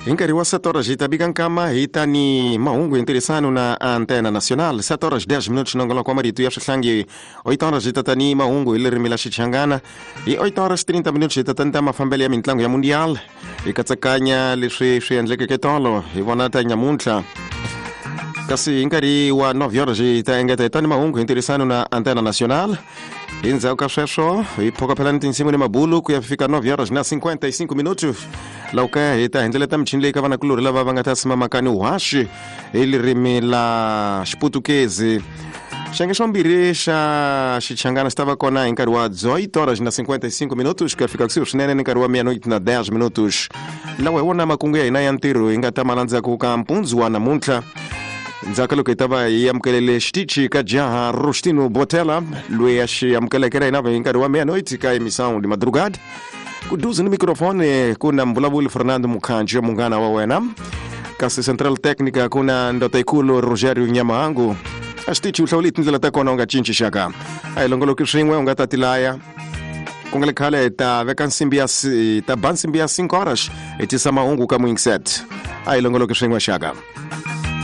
Hi nkarhi wa 7 horas hi ta bika nkama hi ta ni mahungu hi ntirhisano na Antena Nacional. 7 horas 10 minutos, nongoloko wa marito ya swihlangi. 8 horas hi ta ta ni mahungu hi ririmi la Xichangana. Hi 8 horas 30 minutos hi ta ta ni ta mafambelo ya mintlangu ya Mundial, hi katsakanya leswi swi endlekeke tolo, hi vona ta nyamuntlha. Kasi hi nkarhi wa 9 horas hi ta engeta hi ta ni mahungu hi ntirhisano na Antena Nacional. Hi ndzhaku ka sweswo hi phokophela ni tinsimu ni mabulu ku ya fika 9 horas na 55 minutos, laha ka hi ta hindzeleta michini leyi ka vanakulorhi lava va nga ta simamaka ni whaxi hi ririmi la Xiputukezi. Xiyenge xa vumbirhi xa Xichangana xi ta va kona hi nkarhi wa 18 horas na 55 minutos ku ya fika kusuhi swinene ni nkarhi wa meia-noite na 10 minutos. Lawa hi wona makungu ya hina ya ntirho hi nga ta ma landzaka ka mpundzu wa namuntlha, ndzhaku ka loko hi ta va hi amukelele xitichi ka jaha Rostino Botela, loyi a xi amukeleke ra hina hi nkarhi wa meia-noite ka emissão de madrugada. Kuduze ni mikrofoni ku na mvulavuli Fernando Mukhanji, munghana wa wena, kasi central técnica ku na ndoda ikulu Rogerio Nyamahangu. A xitichi u hlawule tindlela ta kona, u nga cinci xaka, a hi longoloki swin'we, u nga ta tilaya. Ku nga le khale hi ta veka nsimbi ya hi ta ba nsimbi ya 5 horas, hi tisa mahungu ka Mwingset. A hi longoloki swin'we xaka.